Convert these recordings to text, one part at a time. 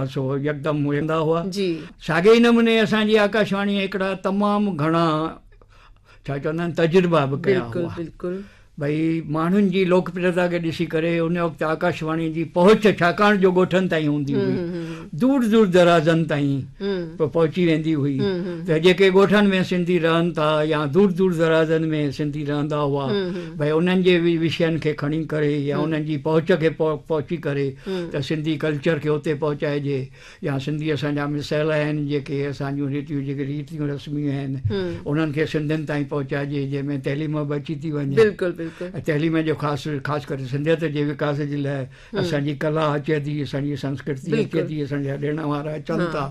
سو يڪدم ويندا هئا. جي. ساڳئي ئي نموني اسان جي آڪاشواڻيء هڪڙا تمام گهڻا ڇا چوندا آهن تجربا به ڪيا بلڪل هئا. بلڪل. ڀئي ماڻهن جي لوڪپريتا کي ڏسي ڪري ان وقت آڪاشواڻي جي پهچ ڇاڪاڻ جو ڳوٺن تائين هوندي هئي دور دور درازن تائين پهچي ويندي هئي ته جيڪي ڳوٺن ۾ سنڌي رهن ٿا يا دور دور درازن ۾ سنڌي رهندا هئا ڀئي انهن جي وشين کي کڻي ڪري يا انهن جي پهچ کي پهچي ڪري ته سنڌي ڪلچر کي اتي پهچائجي يا سنڌي اسان جا مسئلا آهن جيڪي اسان جون ريتيون جيڪي ريتيون رسميون آهن انهن کي سنڌين تائين پهچائجي جنهن ۾ تعليم به اچي ٿي وڃي بلڪل بلڪل تعليم جو خاص خاص ڪري سنڌيت جي وڪاس جي لاء اسان جي ڪلا اچي ٿي اسان جي سنسڪرتي اچي ٿي اسان جا ڏڻ وار اچن ٿا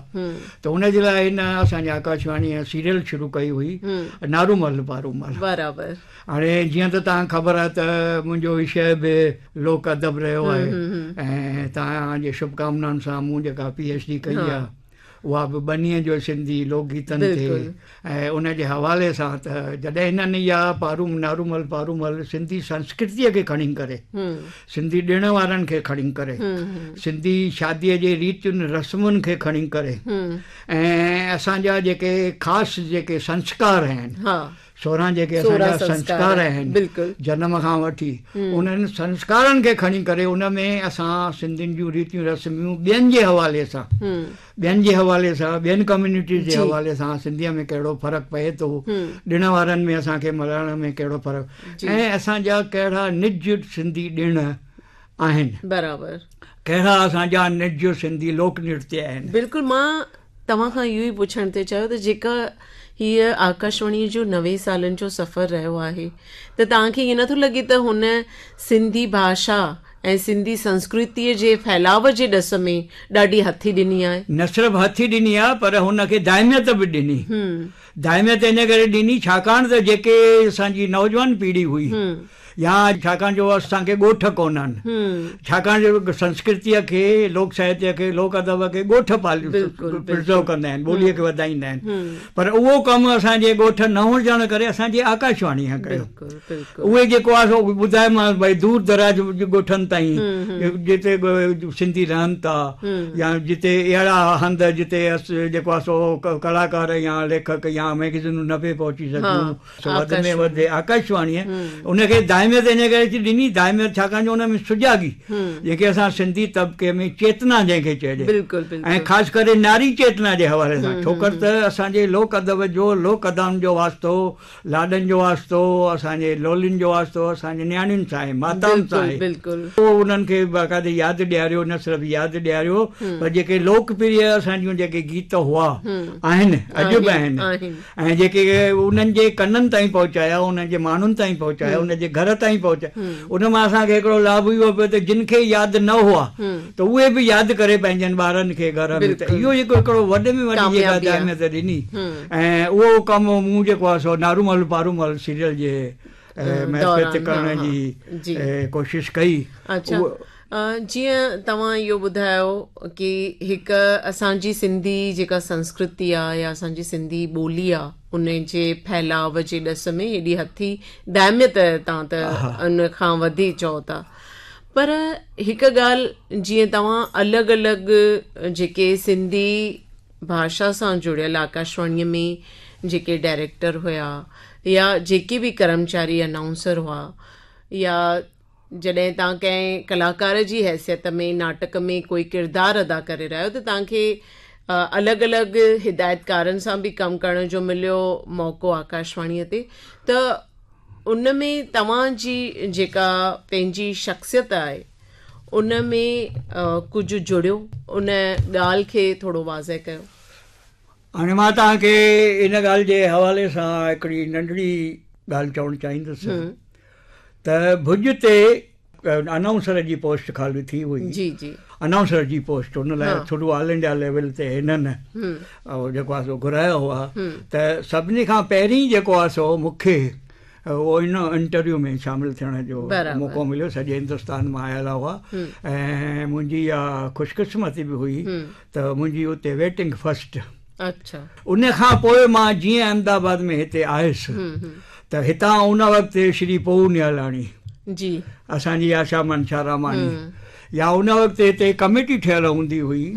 ته ان جي لاء هن اسان جي آڪاشواڻي سيريل شروع ڪئي هئي نارومل پارومل برابر هاڻي جيئن ته توهان کي خبر آهي ته منهنجو وشيه به لوڪ ادب رهيو آهي ۽ توهان جي شڀ ڪامنائن سان مون جيڪا پي ايڇ ڊي ڪئي آهي اها به ٻنيء جو سنڌي لوڪ گيتن تي ۽ ان جي حوالي سان ته جڏهن هنن اها پارو نارومل پارومل سنڌي سنسڪرتيء کي کڻي ڪري سنڌي ڏڻ وارن کي کڻي ڪري سنڌي شاديء جي ريتين رسمن کي کڻي ڪري ۽ اسان جا جيڪي خاص جيڪي سنسڪار آهن 16 جيڪي اسان جا سنسڪار آهن جنم کان وٺي انهن سنسڪارن کي کڻي ڪري ان ۾ اسان سنڌين جون ريتيون رسميون ٻين جي حوالي سان ٻين جي حوالي سان ٻين ڪميونٽيز جي حوالي سان سنڌيء ۾ ڪهڙو فرق پئي ٿو ڏڻ وارن ۾ اسان کي ملهائڻ ۾ ڪهڙو فرق ۽ اسان جا ڪهڙا نج سنڌي ڏڻ آهن برابر ڪهڙا اسان جا نج سنڌي لوڪ نرتيه آهن. بلڪل مان توهان کان اهو ئي پڇڻ ٿي چاهيو ته جيڪا هيء آڪاشواڻيء جو 90 سالن جو سفر رهيو آهي ته توهان کي ائين نٿو لڳي ته هن سنڌي ڀاشا ۽ سنڌي سنسڪرتيء جي ڦهلاء جي ڏس ۾ ڏاڍي هٿي ڏني آهي؟ نه صرف هٿي ڏني آهي پر هن کي دائميت به ڏني. دائميت ان ڪري ڏني ڇاڪاڻ ته جيڪي اسان جي نوجوان پيڙهي هئي يا ڇاڪاڻ جو اسان کي ڳوٺ ڪونهن، ڇاڪاڻ جو سنسڪرتيء کي، لوڪ ساهتيه کي، لوڪ ادب کي ڳوٺ پرزرو ڪندا آهن، ٻوليء کي وڌائيندا آهن، پر اهو ڪم اسان جي ڳوٺ نه هجڻ ڪري اسان جي آڪاشواڻيء ڪيو. اهي جيڪو آهي سو ٻڌايومانس ڀئي دور دراز ڳوٺن تائين جتي سنڌي رهن ٿا يا جتي اهڙا هنڌ جتي جيڪو آهي سو ڪلاڪار يا ليکڪ يا مئگزينون نه پئي پهچي سگهيون. سو وڌ ۾ وڌ آڪاشواڻيء ان کي دائميت ان ڪري ٿي ڏني، دائميت ڇاڪاڻ جو ان ۾ سجاڳي، جنهن کي اسان سنڌي طبقي ۾ چيتنا جنهن کي چئجي ۽ خاص ڪري ناري چيتنا جي حوالي سان ڇوڪر ته اسان جي لوڪ ادب جو لوڪ ادائن جو واسطو، لاڏن جو واسطو، اسان جي لولين جو واسطو اسان جي نياڻين سان آهي، ماتائن سان آهي. اهو انهن کي باقاعدي ياد ڏياريو، نه صرف ياد ڏياريو پر جيڪي لوڪ پريه اسان جون جيڪي گيت هئا، آهن، اڄ به آهن. ۽ جيڪي انهن جي ڪنن تائين پهچايا، انهن جي ماڻهن تائين پهچايا، انهن جي گهر تائين پهچايا، ان مان اسان کي هڪڙو لاڀ اهو پيو ته جن کي ياد نه هئا ته اهي به ياد ڪري پنهنجن ٻارن کي گهر ۾ ته اهو جيڪو هڪڙو وڏي ۾ وڏي جيڪا دائميت ڏني ۽ اهو ڪم مون جيڪو آهي سو نارومل پارومل سيريل جي معرفت ڪرڻ جي ڪوشش ڪئي. جيئن توهان اهو ٻڌايو ڪي هڪ اسان جي سنڌي جيڪا سنسڪرتي آ يا اسان جي سنڌي ٻولي آ ان جي ڦهلاء جي ڏس ۾ هيڏي هٿي دائميت توهان ته ان کان وڌي چئو ٿا پر هڪ ڳالهه جيئن توهان الڳ الڳ جيڪي سنڌي ڀاشا سان جڙيل آڪاشواڻي ۾ جيڪي ڊائريڪٽر هيا يا جيڪي به ڪرمچاري انائونسر هئا يا جڏهن توهان ڪنهن ڪلاڪار جي حيثيت ۾ ناٽڪ ۾ ڪوئي ڪردار ادا ڪري رهيا آهيو ته توهان کي الڳ الڳ هدايتڪارن سان به ڪم ڪرڻ جو مليو موقعو آڪاشواڻيء تي ته ان ۾ توهان جي جيڪا پنهنجي شخصيت آهي ان ۾ ڪجهه جڙيو ان ڳالهه کي ٿورو واضح ڪيو. هاڻي مان توهان کي ان ڳالهه جي حوالي سان هڪڙي ننڍڙي ڳالهه چوڻ چاهيندس ته ڀڄ تي انائونسر جي پوسٽ خالي ٿي هئي جي جي انائونسر جي پوسٽ ان لاء ٿرو آل انڊيا ليول تي هنن جيڪو آهي سو گهرايا هئا ته سڀني کان پهرين جيڪو آهي سو مون کي اهو ان انٽرويو ۾ شامل ٿيڻ جو موقعو مليو سڄي هندستان مان آيل هئا ۽ منهنجي اها خوشقسمتي به هئي ته منهنجي اتي ويٽنگ فرسٽ. اڇا. ان کان پوء مان جيئن احمد آباد ۾ هتي آيس ته هتان ان وقت شري پوهو نهالاڻي جي. اسان جي آشا منشا راماڻي يا ان وقت هتي ڪميٽي ٺهيل هوندي هئي.